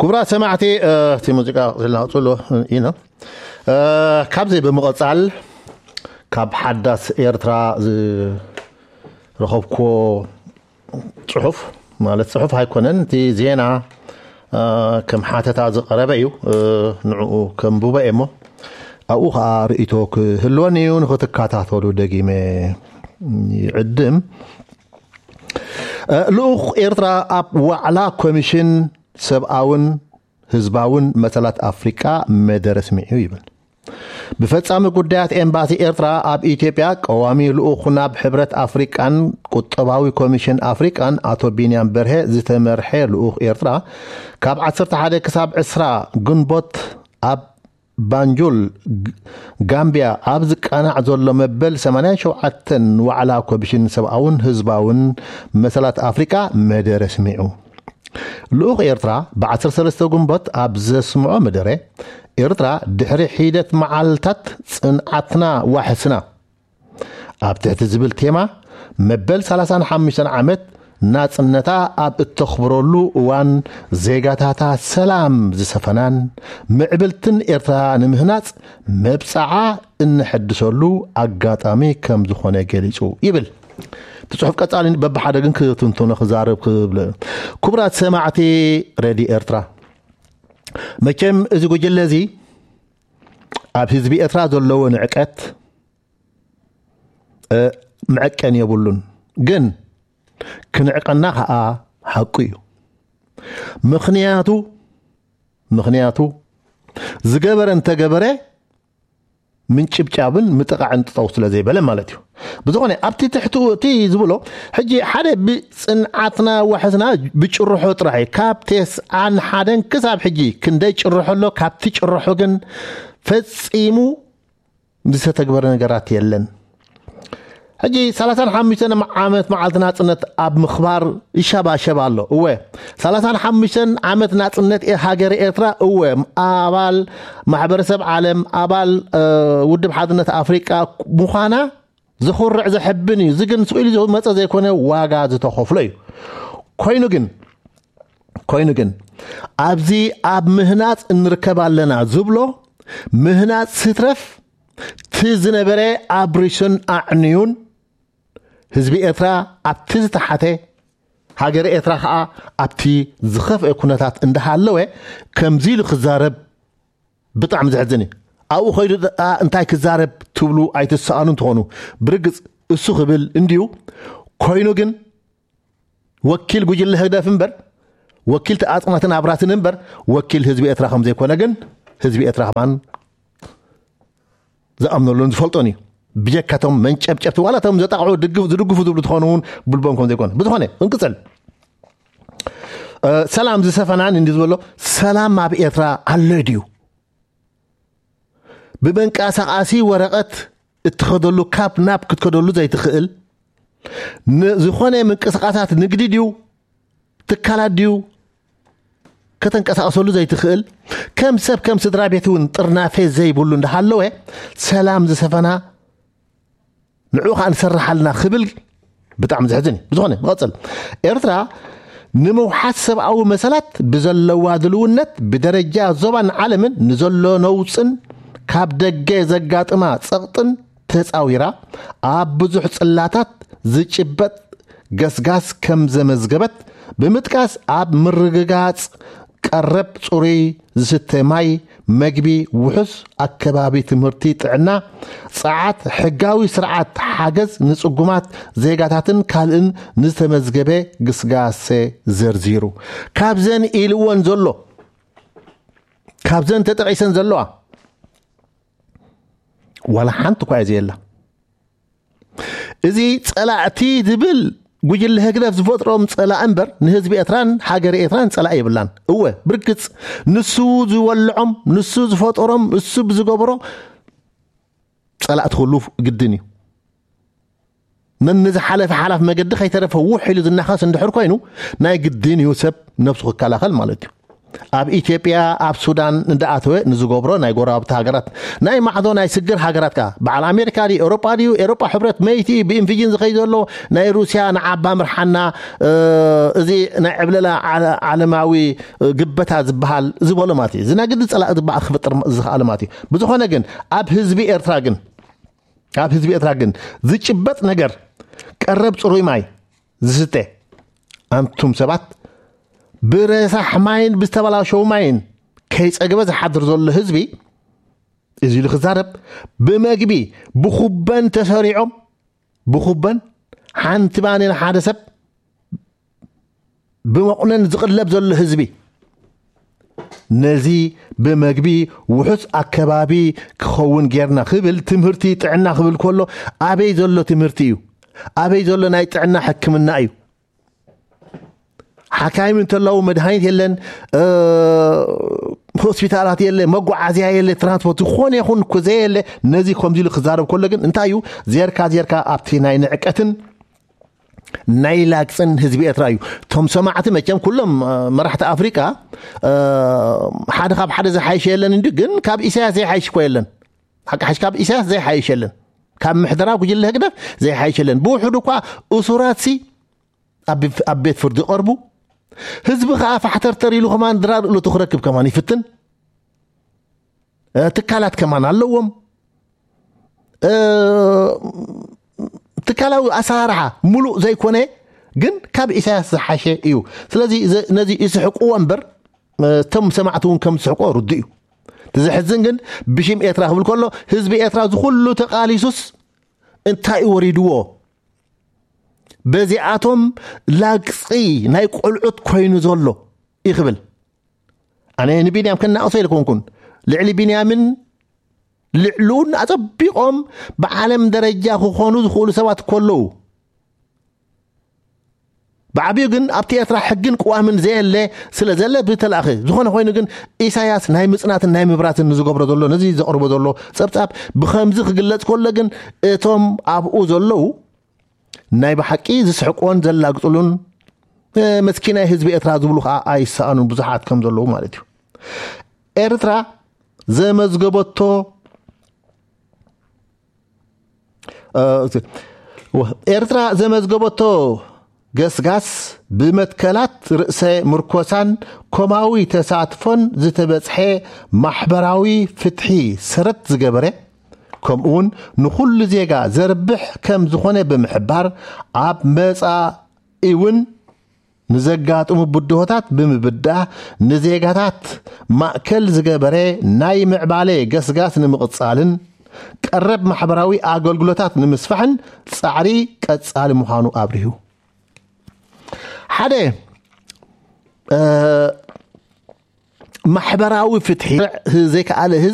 ክቡራት ሰማዕቲ፣ እቲ ሙዚቃ ክልናውፅሉ ኢና። ካብዚ ብምቕፃል ካብ ሓዳስ ኤርትራ ዝረኸብኩዎ ፅሑፍ፣ ማለት ፅሑፍ ኣይኮነን፣ እቲ ዜና ከም ሓተታ ዝቐረበ እዩ። ንዕኡ ከንብቦ እየ እሞ ኣብኡ ከዓ ርእይቶ ክህልወኒ እዩ፣ ንክትከታተሉ ደጊመ ይዕድም። ልኡኽ ኤርትራ ኣብ ዋዕላ ኮሚሽን ሰብኣውን ህዝባውን መሰላት ኣፍሪቃ መደረ ስሚዑ ይብል። ብፈጻሚ ጉዳያት ኤምባሲ ኤርትራ ኣብ ኢትዮጵያ ቀዋሚ ልኡኽ ናብ ሕብረት ኣፍሪቃን ቁጠባዊ ኮሚሽን ኣፍሪቃን ኣቶ ቢንያም በርሀ ዝተመርሐ ልኡኽ ኤርትራ ካብ ዓሰርተ ሓደ ክሳብ ዕስራ ግንቦት ኣብ ባንጁል ጋምቢያ ኣብ ዝቃናዕ ዘሎ መበል ሰማንያን ሸውዓተን ዋዕላ ኮሚሽን ሰብኣውን ህዝባውን መሰላት ኣፍሪቃ መደረ ስሚዑ። ልኡኽ ኤርትራ ብዓሰርተ ሰለስተ ግንቦት ኣብ ዘስምዖ መደረ፣ ኤርትራ ድሕሪ ሒደት መዓልታት ጽንዓትና ዋሕስና ኣብ ትሕቲ ዝብል ቴማ መበል ሰላሳን ሓሙሽተን ዓመት ናጽነታ ኣብ እተኽብረሉ እዋን፣ ዜጋታታ ሰላም ዝሰፈናን ምዕብልትን ኤርትራ ንምህናጽ መብጽዓ እንሕድሰሉ ኣጋጣሚ ከም ዝኾነ ገሊጹ ይብል እቲ ጽሑፍ። ቀጻሊ በብሓደ ግን ክትንትኖ ክዛረብ ክብል። ክቡራት ሰማዕቲ ሬድዮ ኤርትራ፣ መቸም እዚ ጉጅለ እዚ ኣብ ህዝቢ ኤርትራ ዘለዎ ንዕቀት መዐቀን የብሉን። ግን ክንዕቀና ከዓ ሓቁ እዩ። ምኽንያቱ ምኽንያቱ ዝገበረ እንተገበረ ምንጭብጫብን ምጥቓዕን ጥጠው ስለ ዘይበለ ማለት እዩ። ብዝኾነ ኣብቲ ትሕትኡ እቲ ዝብሎ ሕጂ ሓደ ብፅንዓትና ዋሕስና ብጭርሖ ጥራሕ እዩ። ካብ ተስዓን ሓደን ክሳብ ሕጂ ክንደይ ጭርሖ ኣሎ። ካብቲ ጭርሖ ግን ፈፂሙ ዝተተግበረ ነገራት የለን። ሕጂ ሰላሳን ሓሙሽተን ዓመት መዓልቲ ናጽነት ኣብ ምኽባር ይሸባሸብ ኣሎ። እወ፣ ሰላሳን ሓሙሽተን ዓመት ናጽነት ኤ-፣ ሃገር ኤርትራ፣ እወ፣ ኣባል ማሕበረሰብ ዓለም፣ ኣባል፣ እ፣ ውድብ ሓድነት ኣፍሪቃ ምዃና ዘኹርዕ ዘሕብን እዩ። እዚ ግን ስኢሉ ዝመጸ ዘይኮነ ዋጋ ዝተኸፍሎ እዩ። ኮይኑ ግን፣ ኮይኑ ግን ኣብዚ ኣብ ምህናጽ እንርከብ ኣለና ዝብሎ ምህናጽ ስትረፍ፣ እቲ ዝነበረ ኣብሪሱን ኣዕንዩን ህዝቢ ኤርትራ ኣብቲ ዝተሓተ፣ ሃገር ኤርትራ ኸኣ ኣብቲ ዝኸፍአ ኩነታት እንዳሃለወ ከምዚ ኢሉ ክዛረብ ብጣዕሚ ዘሕዝን እዩ። ኣብኡ ኸይዱ ደኣ እንታይ ክዛረብ ትብሉ ኣይትሰኣኑ እንትኾኑ፣ ብርግጽ እሱ ክብል እንድዩ። ኮይኑ ግን ወኪል ጉጅለ ህግደፍ እምበር፣ ወኪል ተኣጽናትን ኣብራትን እምበር፣ ወኪል ህዝቢ ኤርትራ ከም ዘይኮነ ግን ህዝቢ ኤርትራ ከማን ዝኣምነሉን ዝፈልጦን እዩ። ብጀካቶም መንጨብጨብቲ ዋላ እቶም ዘጣቕዑ ድግፍ-፣ ዝድግፉ ዝብሉ ትኾኑ እውን ብልቦም ከም ዘይኮነ። ብዝኾነ፣ እንቅጽል። እ፣ ሰላም ዝሰፈናን እንዲ ዝበሎ፣ ሰላም ኣብ ኤርትራ ኣሎ ድዩ? ብመንቀሳቓሲ ወረቐት እትኸደሉ፣ ካብ ናብ ክትከደሉ ዘይትኽእል፣ ን-፣ ዝኾነ ምንቅስቓሳት ንግዲ ድዩ? ትካላት ድዩ? ከተንቀሳቕሰሉ ዘይትኽእል፣ ከም ሰብ ከም ስድራ ቤት እውን ጥርናፌ ዘይብሉ እንዳሃለወ፣ ሰላም ዝሰፈና ንዑ ኸኣ ንሰርሓልና ክብል ብጣዕሚ ዘሕዝን እዩ። ብዝኾነ፣ ንቐጽል። ኤርትራ ንምውሓስ ሰብኣዊ መሰላት ብዘለዋ ድልውነት ብደረጃ ዞባን ዓለምን ንዘሎ ነውጽን ካብ ደገ ዘጋጥማ ጸቕጥን ተጻዊራ ኣብ ብዙሕ ጽላታት ዝጭበጥ ገስጋስ ከም ዘመዝገበት ብምጥቃስ፣ ኣብ ምርግጋጽ ቀረብ ጽሩይ ዝስተ ማይ፣ መግቢ፣ ውሑስ ኣከባቢ ትምህርቲ፣ ጥዕና፣ ጸዓት፣ ሕጋዊ ስርዓት ሓገዝ ንጽጉማት ዜጋታትን ካልእን ንዝተመዝገበ ግስጋሴ ዘርዚሩ። ካብዘን ኢልወን ዘሎ፣ ካብዘን ተጠቒሰን ዘለዋ ዋላ ሓንቲ እኳ እየ ዘየላ። እዚ ጸላእቲ ዝብል ጉጅለ ህግደፍ ዝፈጥሮም ጸላእ እምበር ንህዝቢ ኤርትራን ሃገር ኤርትራን ጸላእ የብላን። እወ፣ ብርግጽ ንሱ ዝወልዖም፣ ንሱ ዝፈጠሮም፣ እሱ ብዝገብሮ ጸላእቲ ክህሉ ግድን እዩ። ነንዝሓለፈ ሓላፍ መገዲ ከይተረፈ ውሕ ኢሉ ዝናኸስ እንድሕር ኮይኑ፣ ናይ ግድን እዩ ሰብ ነብሱ ክከላኸል ማለት እዩ። ኣብ ኢትዮጵያ ኣብ ሱዳን እንዳኣተወ ንዝገብሮ ናይ ጎረባብቲ ሃገራት ናይ ማዕዶ ናይ ስግር ሃገራት ከኣ በዓል ኣሜሪካ ድዩ ኤውሮጳ ድዩ ኤውሮጳ ሕብረት መይቲ እዩ ብኢንፊጅን ዝኸይ ዘሎ ናይ ሩስያ ንዓባ ምርሓና እዚ ናይ ዕብለላ ዓለማዊ ግበታ ዝበሃል ዝበሎ ማለት እዩ እዚ ናይ ግዲ ጸላእ ዝበኣ ክፍጥር ዝኸኣለ ማለት እዩ ብዝኾነ ግን ኣብ ህዝቢ ኤርትራ ግን ኣብ ህዝቢ ኤርትራ ግን ዝጭበጥ ነገር ቀረብ ጽሩይ ማይ ዝስተ ኣንቱም ሰባት ብረሳሕ ማይን ብዝተበላሸው ማይን ከይጸግበ ዝሓድር ዘሎ ህዝቢ እዚ ኢሉ ክዛረብ ብመግቢ ብኹበን ተሰሪዖም ብኹበን ሓንቲ ማኒ ንሓደ ሰብ ብመቑነን ዝቕለብ ዘሎ ህዝቢ ነዚ ብመግቢ ውሑስ ኣከባቢ ክኸውን ጌርና ክብል ትምህርቲ ጥዕና ክብል ከሎ ኣበይ ዘሎ ትምህርቲ እዩ ኣበይ ዘሎ ናይ ጥዕና ሕክምና እዩ ሓካይም እንተለዉ መድሃኒት የለን ሆስፒታላት የለ መጓዓዝያ የለ ትራንስፖርት ዝኾነ ይኹን እኮ ዘየለ ነዚ ከምዚ ኢሉ ክዛረብ ከሎ ግን እንታይ እዩ ዜርካ ዜርካ ኣብቲ ናይ ንዕቀትን ናይ ላግፅን ህዝቢ ኤርትራ እዩ እቶም ሰማዕቲ መቸም ኩሎም መራሕቲ ኣፍሪቃ ሓደ ካብ ሓደ ዝሓይሽ የለን እንዲ ግን ካብ ኢሳያስ ዘይሓይሽ እኮ የለን ሓቂ ሓሽ ካብ ኢሳያስ ዘይሓይሽ የለን ካብ ምሕደራ ጉጅለ ህግደፍ ዘይሓይሽ የለን ብውሕዱ እኳ እሱራት ሲ ኣብ ቤት ፍርዲ ቀርቡ ህዝቢ ከዓ ፋሕተርተር ኢሉ ከማን ድራር እሉ ትክረክብ ከማን ይፍትን ትካላት ከማን ኣለዎም ትካላዊ ኣሰራርሓ ሙሉእ ዘይኮነ ግን ካብ ኢሳያስ ዝሓሸ እዩ ስለዚ ነዚ ይስሕቅዎ እምበር እቶም ሰማዕቲ እውን ከም ዝስሕቆ ርዱ እዩ ትዝሕዝን ግን ብሽም ኤርትራ ክብል ከሎ ህዝቢ ኤርትራ ዝኩሉ ተቃሊሱስ እንታይ እዩ ወሪድዎ በዚኣቶም ላግፂ ናይ ቆልዑት ኮይኑ ዘሎ ይኽብል ኣነ ንቢንያም ከናቕሶ ኢልኮንኩን ልዕሊ ቢንያምን ልዕሉን ኣጸቢቖም ብዓለም ደረጃ ክኾኑ ዝኽእሉ ሰባት ከለዉ ብዓብዩ ግን ኣብቲ ኤርትራ ሕግን ቅዋምን ዘየለ ስለ ዘለ ብተላእኸ ዝኾነ ኮይኑ ግን ኢሳያስ ናይ ምጽናትን ናይ ምብራትን ንዝገብሮ ዘሎ ነዚ ዘቕርቦ ዘሎ ጸብጻብ ብኸምዚ ክግለጽ ከሎ ግን እቶም ኣብኡ ዘለዉ ናይ ብሓቂ ዝስሕቅዎን ዘላግጽሉን መስኪናይ ህዝቢ ኤርትራ ዝብሉ ከዓ ኣይሰኣኑን ብዙሓት ከም ዘለዉ ማለት እዩ ኤርትራ ዘመዝገበቶ ኤርትራ ዘመዝገበቶ ገስጋስ ብመትከላት ርእሰ ምርኮሳን ኮማዊ ተሳትፎን ዝተበጽሐ ማሕበራዊ ፍትሒ ሰረት ዝገበረ ከምኡውን ንኹሉ ዜጋ ዘርብሕ ከም ዝኾነ ብምሕባር ኣብ መጻኢ እውን ንዘጋጥሙ ብድሆታት ብምብዳህ ንዜጋታት ማእከል ዝገበረ ናይ ምዕባለ ገስጋስ ንምቕጻልን ቀረብ ማሕበራዊ ኣገልግሎታት ንምስፋሕን ጻዕሪ ቀጻሊ ምዃኑ ኣብሪሁ። ሓደ ማሕበራዊ ፍትሒ ዘይከኣለ ህዝቢ